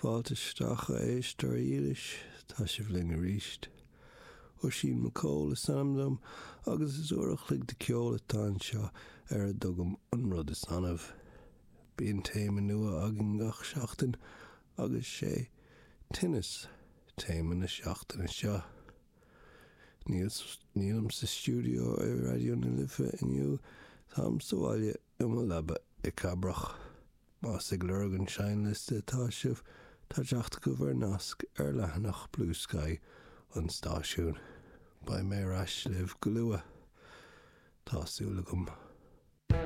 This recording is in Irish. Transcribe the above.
Fáilte isteach a éisteoirí dhílis, tá sibh linn arís. Oisín McCole is ainm dom agus is uair a chloig de ceol atá anseo ar a dtugaim an rud is annamh. Bíonn téama nua againn gach seachtain agus sé tinneas téama na seachtaine seo. Nílim sa stiúideo i Raidió na Life inniu, táim sa bhaile i mo leaba i Cabrach. Más ag lorg an seinnliosta atá sibh, tá teacht agaibh ar nasc ar leathanach Bluesky an stáisiúin. Beidh mé ar ais libh go luath. Tá súil agam.